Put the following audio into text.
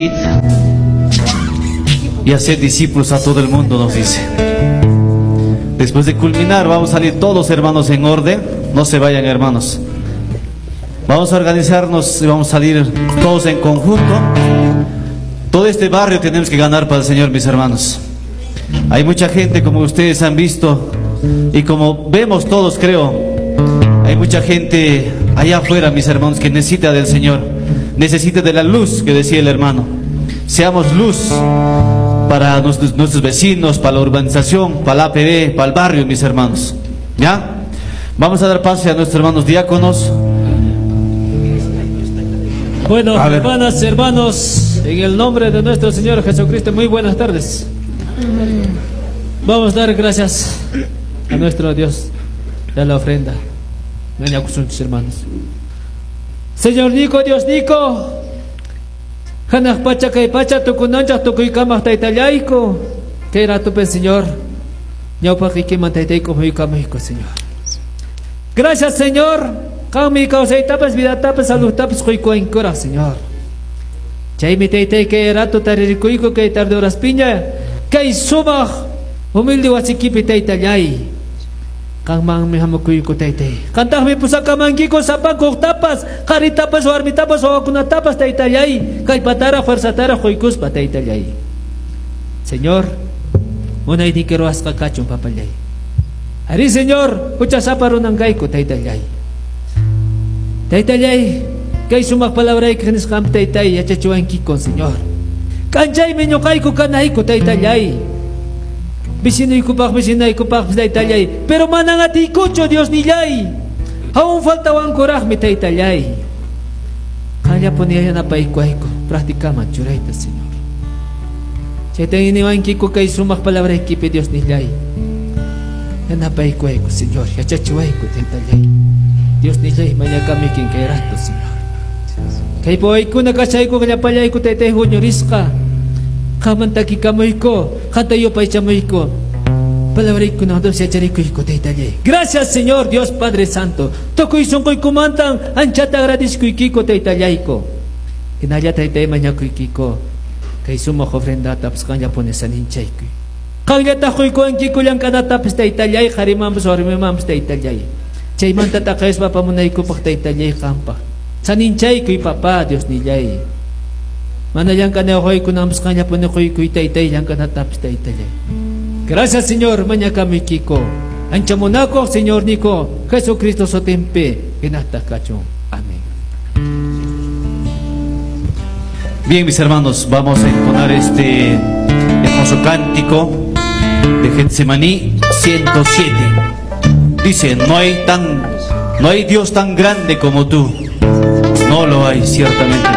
Y hacer discípulos a todo el mundo, nos dice. Después de culminar, vamos a salir todos, hermanos, en orden. No se vayan, hermanos. Vamos a organizarnos y vamos a salir todos en conjunto. Todo este barrio tenemos que ganar para el Señor, mis hermanos. Hay mucha gente, como ustedes han visto y como vemos todos, creo. Hay mucha gente allá afuera, mis hermanos, que necesita del Señor. Necesita de la luz que decía el hermano. Seamos luz para nuestros vecinos, para la urbanización, para la APB, para el barrio, mis hermanos. ¿Ya? Vamos a dar pase a nuestros hermanos diáconos. Bueno, hermanas, hermanos, en el nombre de nuestro Señor Jesucristo, muy buenas tardes. Vamos a dar gracias a nuestro Dios de la ofrenda. Hermanos. Señor Nico, Dios Nico, Hanaq pacha kay pacha tukunanchaq tukuykamaq taytallayku, kay ratupi Señor, ñawpaqiykiman taytayku huykamayku, Señor. Gracias, Señor. Qanmi kawsaytapas, vidatapas, saludtapas quykuwankuraq, Señor. Chaymi taytay kay rato taririkuyku kay tarde horas piña, kay sumaq humilde wasikipi taytallay. Qanmanmi hamukuyku taytay. Qantaqmi pusakamankiku sapankuqtapas, qharitapas, warmitapas, wawakunatapas taytallay, kallpatara, fuerzatara quykuspa taytallay. Señor, munayniyki ruwasqa kachun papallay. Ari, Señor, huchasapa runankayku taytallay. Taytallay, kay sumaq palabrayki nisqanpi taytay yachachiwankikun, Señor. K'anchaymi ñuqayku kanayku taytallay. Vecinoykupaq, vecinaykupaq taytallay, pero manan atiykuchu Dios nillay. Aún faltawankuraqmi taytallay. Qanllapuni yanapaykuayku practicaman churayta, Señor. Chaytan iniwankiku kay sumaq palabraykipi Dios nillay. Yanapaykuayku, Señor, yachachiwayku taytallay. Dios nillay mañakamikin kay rato, Señor. Kay pawaykuna kachayku llapallayku taytay huñurisqa. Qanman takikamuyku, qanta yupaychamuyku. Palabraykuna Dios yacharikuyku taytallay. Gracias, Señor Dios Padre Santo. Tukuy sunquykumantan anchata agradezkuykiko taytallayku. Hinalla taytay mañakuykiko. Kay sumaq ofrendatapas qanllapuni saninchaykuy. Qanllataq quykuwankiku llank'anatapas taytallay, qharimanpas warmimanpas taytallay. Chaymanta taqayspa apamunaykupaq taytallay qanpaq. Saninchaykuy papá Dios nillay. Mana llank'anayuqaykunampas qanllapuni quykuy taytay llank'anatapas taytallay. Gracias, Señor, mañakamikiko. Ancha munakuq Señor niko, Jesucristo sutinpi hinataq kachun. Amén. Bien, mis hermanos, vamos a entonar este hermoso cántico de Getsemaní 107. Dice, no hay Dios tan grande como tú. No lo hay, ciertamente.